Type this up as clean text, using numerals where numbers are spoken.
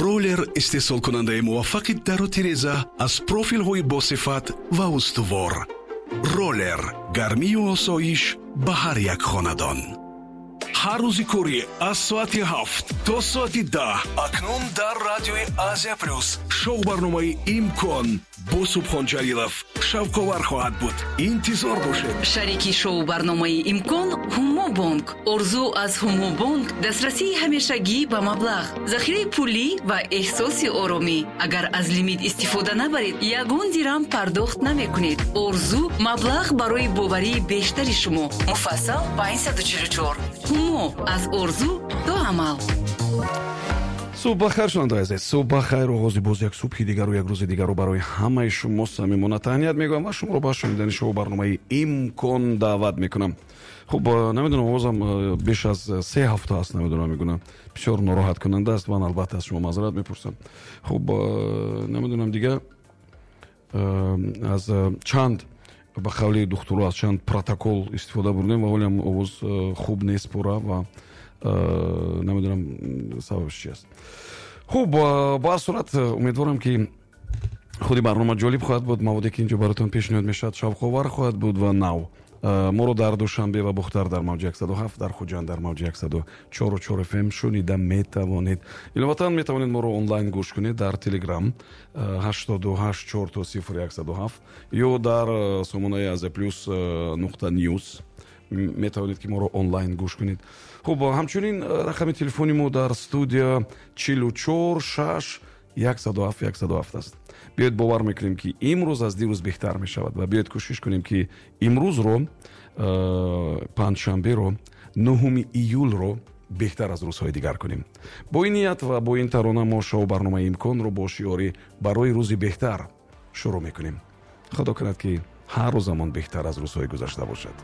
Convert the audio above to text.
Роллер истеҳсолкунандаи муваффақи дару тиреза аз профилҳои босифат ва устувор. Роллер гармию осоиш ба ҳар як хонадон. Ҳар рӯзи корӣ аз соати 7 то соати 10 акнун дар радиои Азия Плюс шоу барномаи «Имкон» бо Субҳон Ҷалилов шавқовар хоҳад буд. Интизор бошед. Шарики шоу барномаи «Имкон» Ҳумобонк. Орзу аз Ҳумобонк дастрасии ҳамешагӣ ба маблағ, захираи пулӣ ва эҳсоси оромӣ. Агар аз лимит истифода набаред, ягон дирам пардохт намекунед. Орзу маблағ барои боварии бештари шумо. Муфассал 544. Ҳумо аз орзу то амал. Субҳ бахайр, шунавандаои азиз, субҳ бахайр. Оғози боз як субҳи дигару як рӯзи дигару барои ҳамаи шумо самимона таҳният мегӯям ва шуморо ба шунидани шоу барномаи «Имкон» даъват мекунам. Хуб, намедонам, овозам беш аз 3 ҳафта аст, намедонам, мегӯнам, бисёр нороҳаткунанда аст. Ман албатта аз шумо маъзарат мепурсам. Хуб, намедонам, дига аз чанд, ба қавли духтуро, аз чанд протокол истифода бурдем ва ҳолиам овоз хуб нест пурра ва намедонам, сабабш чи аст. Хуб, ба ҳар сурат, умедворам, ки худи барнома ҷолиб хоҳад буд, маводе, ки инҷо баротон пешниҳод мешавад, шавқовар хоҳад буд ва нав. Моро дар Душанбе ва Бухтар дар мавҷи 107, дар Хуҷанд дар мавҷи 104,4 ФМ шунида метавонед. Иловатан метавонед моро онлайн гӯш кунед дар Телеграм 884 0 107 ё дар сомонаи Азия Плюс.news метавонед, ки моро онлайн гӯш кунед. Хуб, ҳамчунин рақами телефони мо дар студия 44 6 107 107 аст. Биёед, бовар мекунем, ки имрӯз аз дирӯз беҳтар мешавад, ва биёед, кӯшиш кунем, ки имрӯзро, панҷшанберо, 9 июлро беҳтар аз рӯзҳои дигар кунем. Бо ин ният ва бо ин тарона мо шоу барномаи «Имконро» бо шиори «Барои рӯзи беҳтар» шурӯъ мекунем. Худо кунад, ки ҳар рӯзамон беҳтар аз рӯзҳои гузашта бошад.